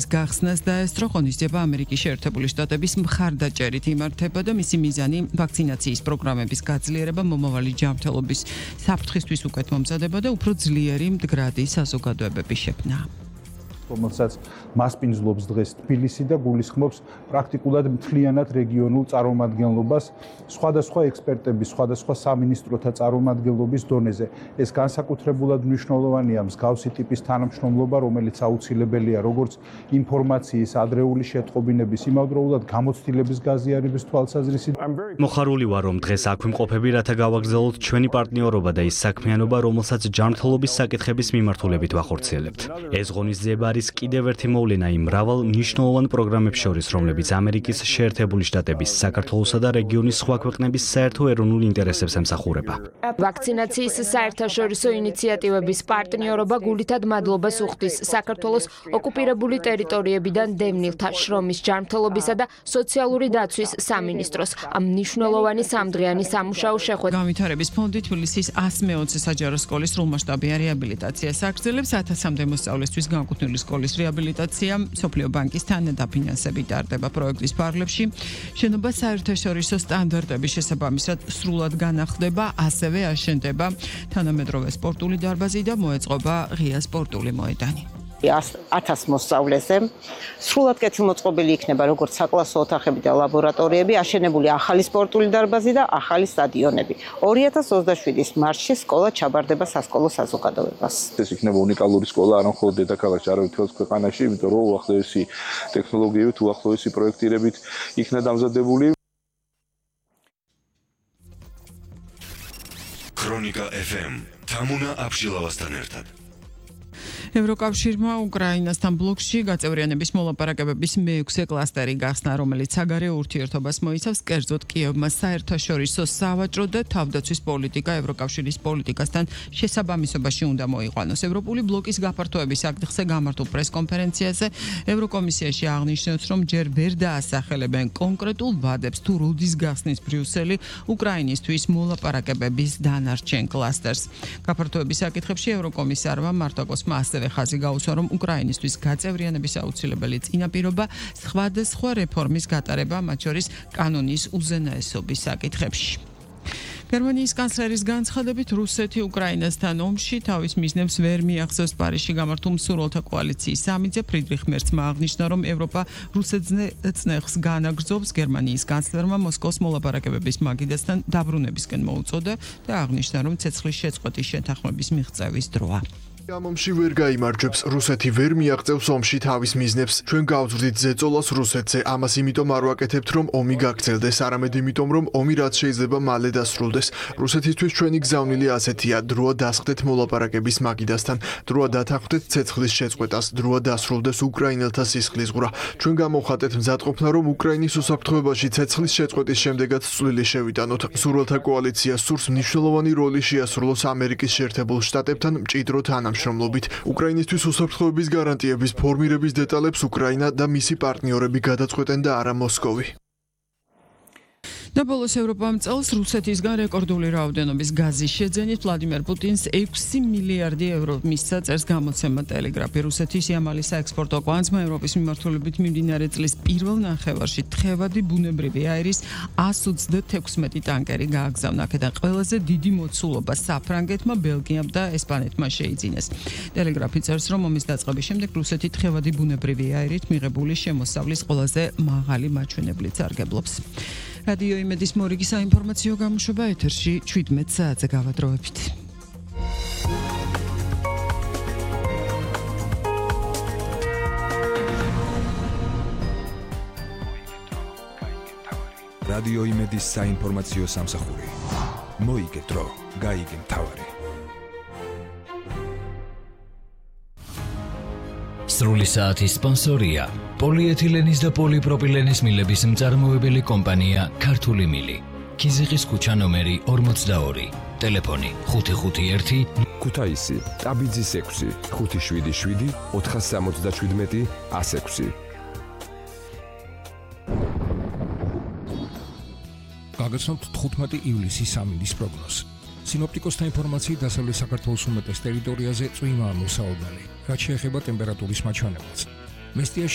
გახსნას დაესწრო ღონისძიება ამერიკის შეერთებული შტატების მხარდაჭერით იმართება და მისი მიზანი ვაქცინაციის პროგრამების გაძლიერება, მომავალი ჯანმრთელობის საფრთხისთვის უკეთ მომზადება და უფრო ძლიერი მდგრადი საზოგადოებების შექმნა. რომელსაც მასპინძლობს დღეს თბილისი და გულისხმობს პრაქტიკულად მთლიანად რეგიონულ წარმომადგენლობას სხვადასხვა ექსპერტების, სხვადასხვა სამინისტროთა წარმომადგენლობის დონეზე. ეს განსაკუთრებულად მნიშვნელოვანია მსგავსი ტიპის თანამშრომლობა, რომელიც აუცილებელია როგორც ინფორმაციის ადრეული შეტყობინების, იმავდროულად გამოცდილების გაზიარების თვალსაზრისით. მოხარული ვარ, რომ დღეს აქ ვიმყოფები, რათა გავაგრძელოთ ჩვენი პარტნიორობა და ის საქმიანობა, რომელსაც ჯანმრთელობის საკითხების მიმართულებით ვახორციელებთ. ეს ღონისძიება არის კიდევ ერთი მოვლენა იმ მრავალ მნიშვნელოვან პროგრამებს შორის, რომლებიც ამერიკის შეერთებული შტატების, საქართველოსა და რეგიონის სხვა ქვეყნების საერთო ეროვნულ ინტერესებს ემსახურება. ვაქცინაციის საერთაშორისო ინიციატივების პარტნიორობა გულითად მადლობას უხდის საქართველოს ოკუპირებული ტერიტორიებიდან დევნილთა შრომის ჯანმრთელობისა და სოციალური დაცვის სამინისტროს ამ მნიშვნელოვანი სამდღიანი სამუშაო შეხვედრა. განვითარების ფონდი თბილისის 120 საჯარო სკოლის სრულმასშტაბიან რეაბილიტაციას აგრძელებს 1000-მდე მოსწავლესთვის განკუთვნილი სკოლის რეაბილიტაცია, მსოფლიო ბანკის თანადაფინანსებით ტარდება პროექტის ფარგლებში. შენობა საერთაშორისო სტანდარტების შესაბამისად სრულად განახლდება, ასევე აშენდება თანამედროვე სპორტული დარბაზი და მოეწყობა ღია სპორტული მოედანი. 1000 მოსწავლეზე სრულად კეთილმოწყობილი იქნება როგორც საკლასო ოთახები და ლაბორატორიები, აშენებული ახალი სპორტული დარბაზი და ახალი სტადიონები. 2027-ის მარტში სკოლა ჩაბარდება სასკოლო საზოგადოებას. ეს იქნება უნიკალური სკოლა არა მხოლოდ დედაქალაქში, არამედ მთელს ქვეყანაში, იმიტომ რომ უახლოესი ტექნოლოგიებით, უახლოესი პროექტირებით იქნა დამზადებული. ქრონიკა FM თამუნა აბშილავასთან ერთად. ევროკავშირმა უკრაინასთან ბლოკში გაწევრიანების მოლაპარაკებების მე-6 კლასტერი გახსნა, რომელიც საგარეო ურთიერთობას მოიცავს, კერძოდ კიევმა საერთაშორისო სავაჭრო და თავდაცვის პოლიტიკა ევროკავშირის პოლიტიკასთან შესაბამისობაში უნდა მოიყვანოს. ევროპული ბლოკის გაფართოების საკითხზე გამართულ პრესკონფერენციაზე ევროკომისიაში აღნიშნეს, რომ ჯერ ვერ დაასახელებენ კონკრეტულ ვადებს თუ როდის გახსნის ბრიუსელი უკრაინისთვის მოლაპარაკებების დანარჩენ კლასტერს. გაფართოების საკითხებში ევროკომისარმა მარტაკოსმა ასევე ხაზი გაუსვა, რომ უკრაინისთვის გაწევრიანების აუცილებელი წინაპირობა სხვადასხვა რეფორმის გატარება, მათ შორის კანონის უზენაესობის საკითხებში. გერმანიის კანცლერის განცხადებით, რუსეთი უკრაინასთან ომში თავის მიზნებს ვერ მიახსოვს. პარიზში გამართულ მსურველთა კოალიციის სამიტზე ფრიდრიხ მერცმა აღნიშნა, რომ ევროპა რუსეთს განაგრძობს. გერმანიის კანცლერმა მოსკოვს მოლაპარაკებების მაგიდასთან დაბრუნებისკენ მოუწოდა და აღნიშნა, რომ ცეცხლის შეწყვეტის შეთანხმების მიღწევის დროა. ამ ომში ვერ გაიმარჯვებს, რუსეთი ვერ მიაღწევს ომში თავის მიზნებს. ჩვენ გავძვრდით ზეწოლას რუსეთზე, ამას იმიტომ არ ვაკეთებთ, რომ ომი გაგრძელდეს, არამედ იმიტომ, რომ ომი რაც შეიძლება მალე დასრულდეს. რუსეთისთვის ჩვენი გზავნილი ასეთია: დროა დასხდეთ მოლაპარაკების მაგიდასთან, დროა დათანხმდეთ ცეცხლის შეწყვეტას, დროა დასრულდეს უკრაინელთა სისხლისღვრა. ჩვენ გამოვხატეთ მზადყოფნა, რომ უკრაინის უსაფრთხოებაში ცეცხლის შეწყვეტის შემდეგაც წვლილი შევიტანოთ. მსურველთა კოალიცია სურს მნიშვნელოვანი როლი შეასრულოს ამერიკის შეერთებულ შტატებთან მჭიდრო თანამშრომლობით. უკრაინისთვის უსაფრთხოების გარანტიების ფორმირების დეტალებს უკრაინა და მისი პარტნიორები გადაწყვეტენ და არა მოსკოვი. და ბოლოს ევროპამ წელს რუსეთისგან რეკორდული რაოდენობის გაზის შეძენით ვლადიმერ პუტინს 6 მილიარდი ევრო მისცა, წერს გამოცემა ტელეგრაფი. რუსეთის იამალი საექსპორტო კვანძმა ევროპის მიმართულებით მიმდინარე წლის პირველ ნახევარში თხევადი ბუნებრივი აირის 126 ტანკერი გააგზავნა. აქედან ყველაზე დიდი მოცულობა საფრანგეთმა, ბელგიამ და ესპანეთმა შეიძინეს. ტელეგრაფი წერს, რომ ომის დაწყების შემდეგ რუსეთი თხევადი ბუნებრივი აირით მიღებული შემოსავლის ყველაზე მაღალი მაჩვენებლით სარგებლობს. რადიო იმედის მორიგი საინფორმაციო გამოშვება ეთერში 17 საათზე გავადროებით. რადიო იმედის საინფორმაციო სამსახური. მოიგე დრო, გაიგე მთავარი. სრული საათის სპონსორია პოლიეთილენის და პოლიპროპილენის მილების მწარმოებელი კომპანია ქართული მილი. ქიზიყის ქუჩა ნომერი 42. ტელეფონი 551 ქუთაისი, ტაბიძის 6, 577 477 106. გაგაცნობთ 15 ივლისის სამინდის პროგნოზი. სინოპტიკოსთა ინფორმაციით დასავლეთ საქართველოს უმეტეს ტერიტორიაზე წვიმაა მოსაოდნელი, რაც შეეხება ტემპერატურის მაჩვენებელს. მესტიაში